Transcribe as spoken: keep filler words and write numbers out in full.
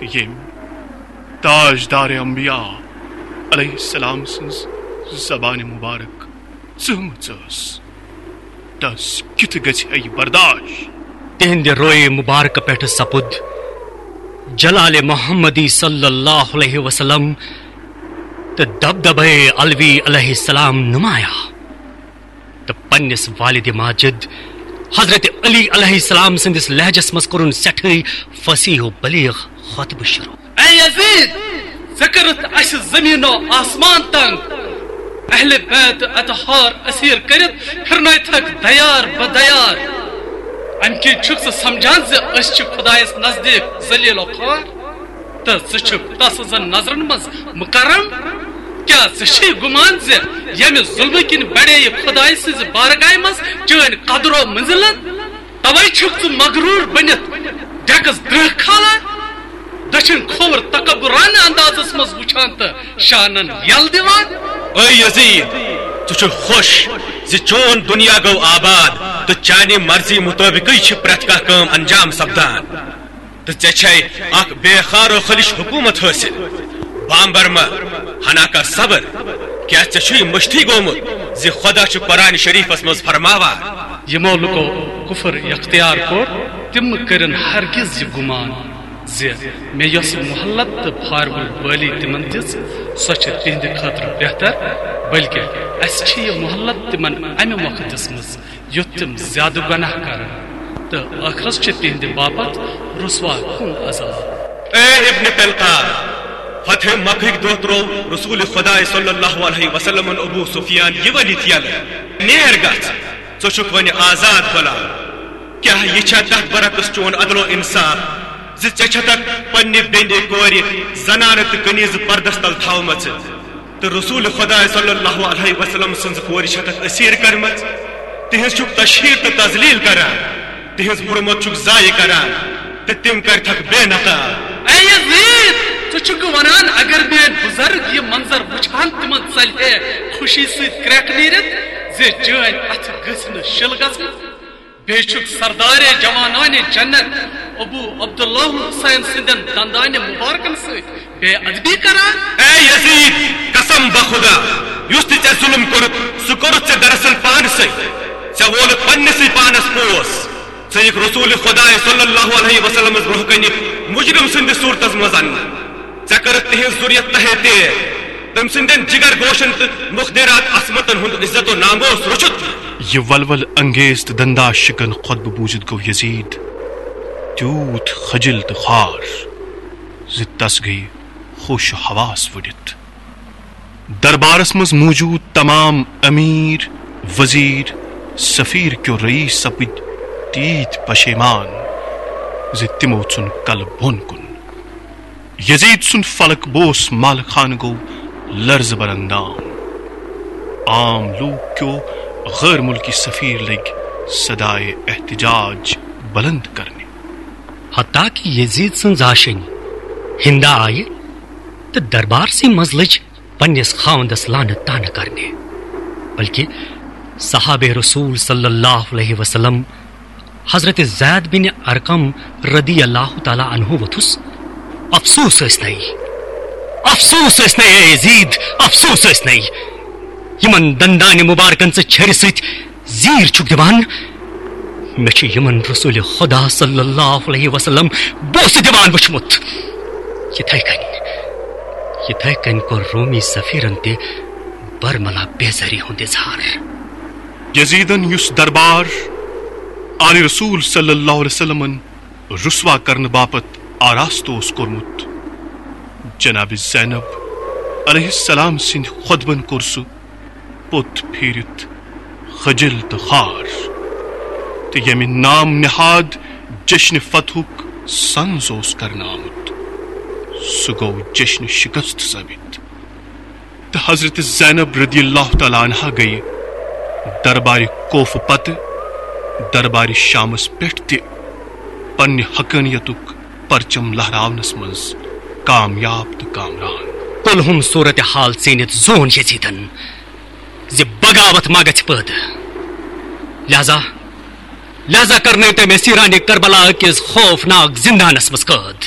ییٚمۍ تاجدار انبیاء علیہ السلام سٕنٛز زبانہِ مبارک ژٲمٕژ ٲس، تس کِتھ گژھِ ہے یہِ برداشت؟ تِہنٛدِ رویہِ مبارکہٕ پٮ۪ٹھٕ سپُد جلال محمدی صلی اللہ علیہ وسلم تہٕ دبدبے علوی علیہ السلام نمایاں۔ تہٕ پننِس والد ماجد حضرت علی علیہ السلام سٕنٛدِس لہجس منٛز کوٚرُن سٮ۪ٹھٕے فصیح و بلیغ خطبہٕ شروع۔ اے یزید، ژےٚ کٔرٕتھ اسہِ زمین و آسمان تنگ۔ اہل بیت اطہار اسیر کٔرِتھ پھرنٲوتھکھ دیار بدیار۔ امہِ کِنۍ چھُکھ ژٕ سمجھان زِ أسۍ چھِ خدایس نزدیک ذلیل و خوار؟ تہٕ ژٕ چھُکھ تسٕنزن نظرن منٛز مکرم؟ کیٛاہ ژےٚ چھُے گمان زِ ییٚمہِ ظلمہٕ کِنۍ بڑے یہِ خدایہِ سٕنزِ بارگاہہِ منٛز چٲنۍ قدر و منزلت؟ توے چھُکھ ژٕ مغرور بٔنِتھ ڈیکس درہ کھالان، دٔچھِنۍ کھووُر تکبرانہ اندازس منٛز وُچھان تہٕ شانن یل دِوان۔ اے یزید، ژٕ چھُکھ خۄش زِ چون دُنیا گوٚو آباد تہٕ چانہِ مرضی مُطٲبِقٕے چھِ پرٛٮ۪تھ کانٛہہ کٲم انجام سپدان۔ تہٕ ژےٚ چھے اکھ بے خار و خلش حکومت حٲصِل۔ بامبر مہ، ہنا کر صبر۔ کیٛاہ ژےٚ چھُے مٔشتھٕے گوٚمُت زِ خۄدا چھُ قرآن شریفس منٛز فرماوان؟ یِمو لُکو کفر اختیار کوٚر، تِم کٔرِن ہرگز یہِ گُمان زِ مےٚ یۄس مۄہلت تہٕ پھارِ وُل بٲلی تِمن دِژ، سۄ چھِ تِہنٛدِ خٲطرٕ بہتر، بلکہِ اسہِ چھِ یہِ مۄہلت تِمن امہِ مۄکھٕ دِژمٕژ یُتھ تِم زیادٕ گۄناہ کرن، تہٕ ٲخرس چھِ تِہنٛدِ باپتھ رسوا کُن عذاب۔ اے ابن قلقال، فتح مکہٕکۍ دۄہ ترٛوو رسول خداے صلی اللہ علیہ وسلمن ابو سفیان یہِ ؤنِتھ یلہٕ، نیر گژھ، ژٕ چھُکھ وۄنۍ آزاد غلام۔ کیٛاہ یہِ چھا تتھ برعکس چون عدل و انصاف زِ ژےٚ چھتکھ پننہِ بیٚنہِ کورِ زنانہٕ تہٕ کنیزٕ پردس تل تھاومژٕ؟ تہٕ رسول خداے صلی اللہ علیہ وسلم سٕنٛز کورِ چھتکھ اسیر کرمژ، تہنٛز چھکھ تشہیر تہٕ تذلیل کران، تہنٛز حرمت چھکھ ضایع کران تہٕ تِم کرتھکھ بے نقاب۔ اے یزید، ژٕ چھکھ ونان اگر میٲنۍ بزرگ یہِ منظر وچھان تِمن ژلہِ ہے خوشی سۭتۍ کرٛٮ۪کھ نیٖرِتھ زِ چٲنۍ اتھٕ گٔژھۍ نہٕ شِل گژھٕنۍ؟ بیٚیہِ چھُکھ سردارِ جوانانِ جنت ابو عبداللہ حسین سٕنٛدٮ۪ن دندانہِ مبارکن سۭتۍ بے ادبی کران۔ اے یزید، قسم بخدا، یُس تہِ ژےٚ ظلم کوٚرُتھ، سُہ کوٚرُتھ ژےٚ دراصل پانسٕے۔ ژےٚ وولُتھ پننسٕے پانس پوس۔ ژٕ یِکھ رسول خداے صلی اللہ علیہ وسلمس برونٛہہ کنہِ مجرم سٕنٛدِس صورتس منٛز اننہٕ۔ ژےٚ کٔرٕتھ تِہنٛز ذُریت تہے تیر۔ تٔمۍ سٕنٛدٮ۪ن جگر گوشن تہٕ مخدرات عصمتن ہُنٛد عزت و ناموس رُشُت۔ یہِ ولول انگیز تہٕ دندا شکن خطبہٕ بوٗزِتھ گوٚو یزید تیوٗت خجل تہٕ خوار زِ تس گٔیہِ ہوش و حواس وُڈِتھ۔ دربارس منٛز موجود تمام امیر، وزیر، سفیر کیو رئیس سپٕدۍ تیٖتۍ پشیمان زِ تِمو ژھُن کلہٕ بۄن کُن۔ یزید سُنٛد فلک بوس مال خان گوٚو لرزٕ بر اندام۔ عام لوٗکھ کیو غٲر مُلکی سفیر لٔگۍ صدایے احتجاج بلند کرنہِ۔ حتیٰ کہ یزید سٕنٛز آشنۍ ہندا آیہِ تہٕ دربارسٕے منٛز لٔج پننِس خاوندس لعنت طعنہٕ کرنہِ، بلکہ صحابہ رسول صلی اللہ علیہ وسلم حضرت زید بن ارقم رضی اللہ تعالیٰ عنہ ووٚتھُس، افسوس ٲسۍ نے، افسوس ٲسۍ نے اے یزید، افسوس ٲسۍ نے۔ یِمن دندانہِ مبارکن ژٕ چھرِ سۭتۍ زیٖر چھُکھ دِوان، مےٚ چھُ یِمن رسول خدا صلی اللہ علیہ وسلم بوسہٕ دِوان وُچھمُت۔ یِتھے کٔنۍ، یِتھے کٔنۍ کوٚر رومی سفیرن تہِ برملا بیزٲری ہُنٛد اظہار۔ یزیدن یُس دربار آل رسول صلی اللہ علیہ وسلمن رسوا کرنہٕ باپتھ آراستہٕ اوس کوٚرمُت، جناب زینب علیہ السلام سٕنٛدۍ خطبن کوٚر سُہ پوٚت پھیٖرِتھ خجل تہٕ خوار، تہٕ ییٚمہِ نام نہاد جشن فتحُک سنز اوس کرنہٕ آمُت، سُہ گوٚو جشن شکست ثٲبت۔ تہٕ حضرت زینب رضی اللہ تعالیٰ عنہا گٔیہِ دربارِ کوفہٕ پتہٕ دربارِ شامس پٮ۪ٹھ تہِ پننہِ حقانیتُک پرچم لہراونس منٛز کامیاب تہٕ کامران۔ کُلہُم صورت حال ژیٖنِتھ زون یزیدن زِ بغاوت ما گژھِ پٲدٕ۔ لہذا، لہذا کرنٲوۍ تٔمۍ اسیرانِ کربلا کِس خوفناک زندانس منٛز قٲد۔